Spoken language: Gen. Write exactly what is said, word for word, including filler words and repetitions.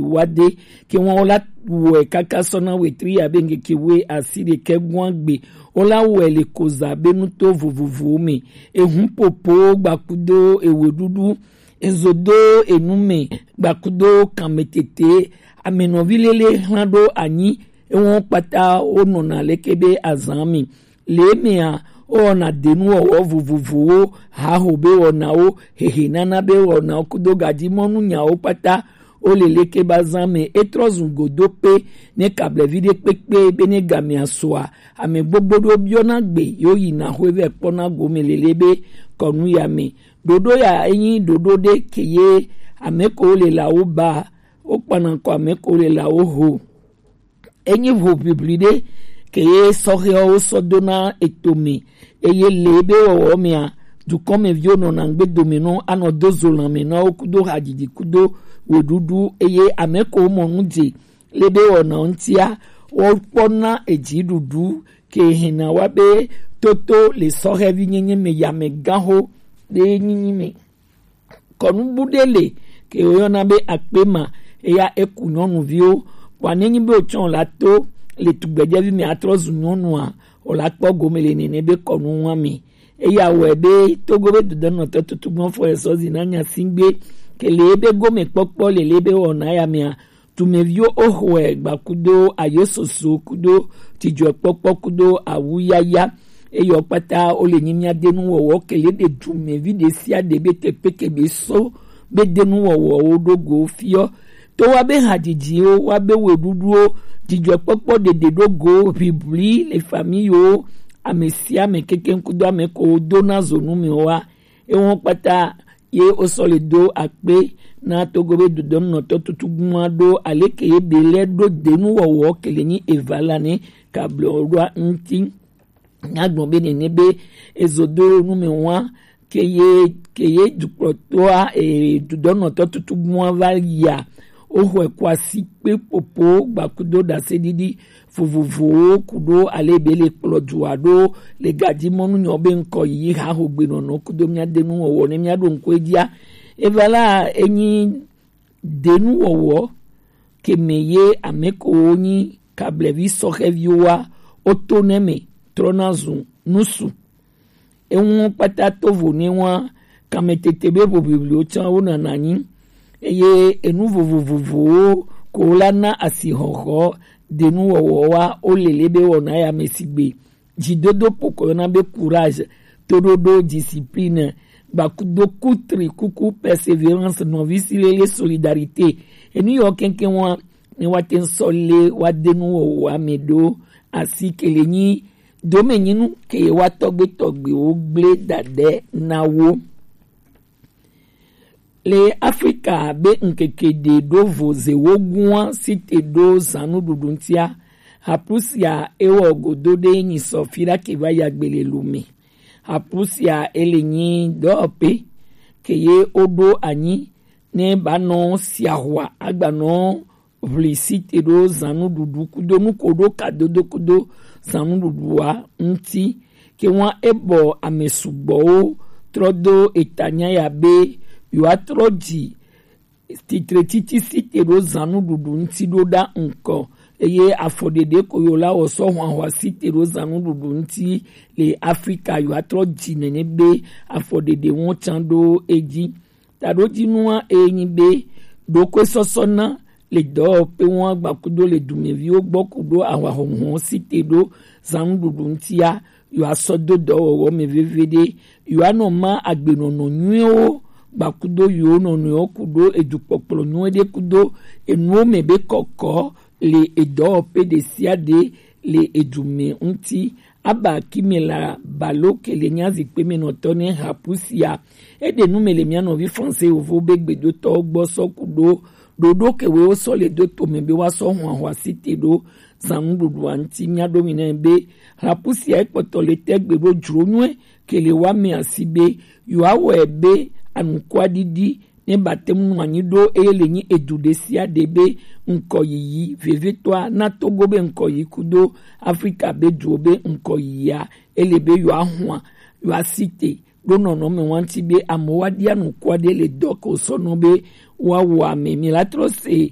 wade ke ŋua wola wɔe kaka sɔ na wetri abe ŋkeke wei asi ɖekɛ gɔ̃a gbe. Wola wɔe le koza be nuto vovovowo me. Ehun popo gbakudo eweɖuɖu, ezodo enu me gbakudo kanmetete, amenɔvi lele hlan ɖo anyi. Ewo kpata wonɔna leke be azan me. Le emea, wowɔna denuwɔwɔ vovovowo, haho be wɔnawo, hehenana be wɔnawo kudo gajimɔnunyawo kpata. Wole leke be azan me etrɔ zu godo pe ne kablevi ɖe kpekpe be ne gamea sɔa, ame gbogbo ɖewo biɔna gbe yewo yina xwevɛ kpɔna gome lele be kɔnu ya me. Ɖoɖo ya enyi ɖoɖo ɖe ke ye ame ko le la wo ba, wokpana kɔ ame ko le la wo ho. Enyi ʋoʋiʋli ɖe ke ye sɔhɛwo sɔ do na eto me, eye le ebe wɔwɔ mea, dukɔmeviwo nɔna ŋgbe dome nɔ anɔ do zo lãme na wo kudo hadzidzi kudo weɖuɖu, eye ame ko mɔ nu dze le be wɔna ŋutia, wokpɔna edziɖuɖu ke hena wa be toto le sɔhɛvi nyenye me ya me gaho ɖe nyinyi me. Kɔnubu ɖe le ke woyɔna be akpema, eya eku nyɔnuviwo. Kpɔa nenyi be wotsɔ la to le tugbedzɛvi me atrɔ zu nyɔnua, wola kpɔ gome le nene be kɔnu ŋua me. Eya wɔe be Togo be dodenɔtɔ tutugbɔ fɔ esɔ zi na nyasingbe ke le ebe gome kpɔkpɔ le le be wɔna ya mea, dumeviwo woxɔe gba kudo ayososo kudo dzidzɔkpɔkpɔ kudo awuyaya. Eyɔ kpata wole nyi mía de nuwɔwɔ kele ɖe dumevi ɖe sia ɖe be teƒe ke be so be de nuwɔwɔwo ɖo go fiɔ. To wa be hadzidziwo, wa be weɖuɖuwo, dzidzɔkpɔkpɔ ɖeɖe ɖo go, ʋiʋli le famiyiwo, ame sia ame kekeŋ kudo ame ko do na zo nu me wa. Ewo kpata ye wosɔ le do akpe na Togo be dodɔnunɔtɔ tutugbua ɖo aleke ye be lɛ ɖo denu wɔwɔ kele nyi eva la ne kablo ɖoa ŋuti. Nyagblɔ be nene be ezo do nu me wa ke ye ke ye dukplɔtɔa e dodɔnunɔtɔ tutugbua va yia. Woxɔe kɔ asi kpe popo gbakudo ɖaseɖiɖi vovovowo ku ɖo ale be le kplɔ dua ɖo le gaji mɔnu nyɔ be ŋkɔ yi ha ho gbe nɔnɔ kudo mía de nu wɔwɔ ne mía ɖo ŋku edzia. Eva la enyi de nu wɔwɔ ke me ye ame ko wo nyi kablevi sɔxɛviwo wa woto ne me trɔna zu nusu. Eŋu kpata tovo ne wa kametete be voviviwo tsã wo nana nyi. Eye enu vovovowo ko la na asixɔxɔ denu wɔwɔ wa wo lele be wɔna ya me sigbe dzidodo pokɔ yɔna be courage, toɖoɖo, discipline, gbakudo kutri kuku, persévérance, nɔvi si lele, solidarité. Enu yɔ kɛnkɛn wa ne wa te sɔ le wa denu wɔwɔ ame ɖo asi kele nyi domenyinu ke ye wa tɔgbe tɔgbewo gble da ɖe na wo. Le Afrika be ŋkeke ɖe ɖo vo ze wo gua site ɖo zanu ɖuɖu ŋtia. Haplusia ewɔ godo ɖe nyi sɔ fi ɖa ke va ya gbe le lu me. Haplusia ele nyi dɔwɔpe ke ye wo ɖo anyi ne ba nɔ siahua agba nɔ ʋli site ɖo zanu ɖuɖu kudo nu ko ɖo kadodo kudo zanu ɖuɖua ŋuti. Ke ŋua ebɔ ame sugbɔwo trɔ do etanya ya be yewoatrɔ dzi titre titi site ɖo zanu ɖuɖu ŋuti ɖo ɖa ŋkɔ. Eye afɔ ɖeɖe ko yewo la wɔ sɔ hwanhwa site ɖo zanu ɖuɖu ŋuti le Afrika yewoatrɔ dzi nene be afɔ ɖeɖe ŋu tsã ɖo edzi. Taɖodzinua enyi be ɖokoesɔsɔ na le dɔwɔƒe ŋu agbakudo le dumeviwo gbɔ kudo ahwahɔnhɔn site ɖo zanu ɖuɖu ŋutia, yewoasɔ do dɔwɔwɔ me veviɖe. Yewoanɔ ma agbenɔnɔ nyuiwo gbakudo yewo nɔnɔewo kudo edukpɔkplɔ nyuie ɖe kudo enuwo me be kɔkɔ le edɔwɔƒe ɖe sia ɖe le edu me ŋuti. Aba Kimela Balo ke le nya zikpe me nɔtɔ ne hapu sia. Eɖe nu me le mía nɔvi Français yovo be gbedotɔwo gbɔ sɔ ku ɖo ɖoɖo ke wo sɔ le do to me be wa sɔ hwan hwa site ɖo zanu ɖuɖua ŋuti. Mía ɖo mi nɛ be hapu sia ekpɔtɔ le tɛgbe ɖo dzro nyuie ke le wa me asi be yewoawɔe be anukua ɖiɖi ne ba te ŋu nɔ anyi ɖo eye le nyi edu ɖe sia ɖe be ŋkɔ yiyi vevitɔa na Togo be ŋkɔ yi kudo Afrika be duwo be ŋkɔ yiyia ele be yewoahua yewoasi te ɖo nɔnɔme wa ŋuti be amewo aɖia nuku aɖe le dɔ ko sɔ nɔ be woawɔ ame. Mi la trɔ se